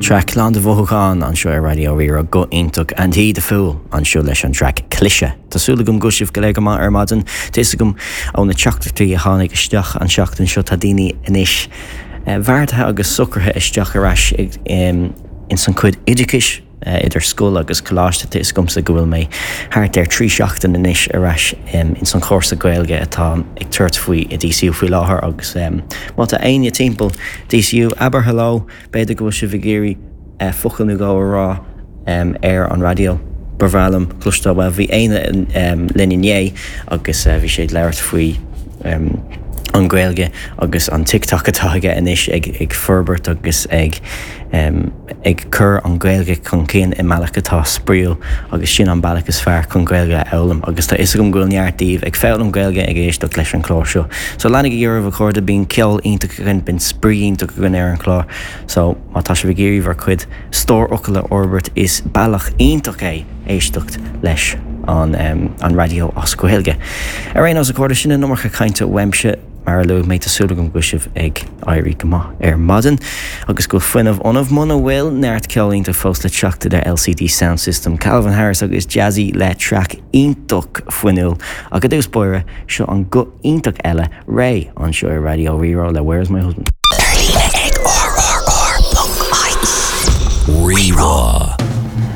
Traic lán de mhothúcháin anseo ar Raidió Rí-Rá. Guth iontach Andy the Fool anseo leis an traic Cliseadh. Tá súil agam go bhfuil sibh go léir go maith ar maidin. Tá fhios agam ó na teachtaireachtaí a tháinig isteach an seachtain seo tá daoine anois beartaithe agus socraithe isteach ar ais ins an chuid oideachais. idir scoil agus coláiste. Tá fhios agamsa go bhfuil mé thart ar 3 seachtain anois ar ais ins an chúrsa Gaeilge atá ag tabhairt faoi i DCU faoi láthair agus má tá éinne timpeall DCU, abair hello, b'fhéidir go bhfuil sibh ag iarraidh focal nó dhó a rá ar an raidió. Ba bhreá liom cloisteáil, bhuel bhí Éanna linn inné agus bhí sé ag labhairt faoi an Ghaeilge agus an TikTok atá aige anois ag forbairt agus ag ag cur an Ghaeilge chun cinn i mbealach atá spraíúil agus sin an bealach is fearr chun Gaeilge a fhoghlaim agus tá fhios agam go bhfuil neart daoibh ag foghlaim Gaeilge ag éisteacht leis an chlár seo. So leanaigí oraibh a chairde, bíonn ceol iontach againn, bíonn spraoi iontach againn ar an chlár so má tá sibh ag iarraidh bhur cuid stór fhocal a fhorbairt is bealach iontach é éisteacht leis an an raidió as Gaeilge. Ar aon nós a chairde, sin an iomarca cainte uaimse. Mar a luaigh mé, tá súil agam go bhfuil sibh ag éirí go maith ar maidin agus go bhfuil fuinneamh ionaibh. Muna bhfuil, neart ceol iontach fós le teacht idir LCD Soundsystem, Calvin Harris agus Jazzy le traic iontach fuinniúil. Ach i dtús báire, seo an guth iontach eile, Raye, anseo ar Raidió Rí-Rá le Where Is My Husband? Ar líne ag rrr.ie. Rí-Rá.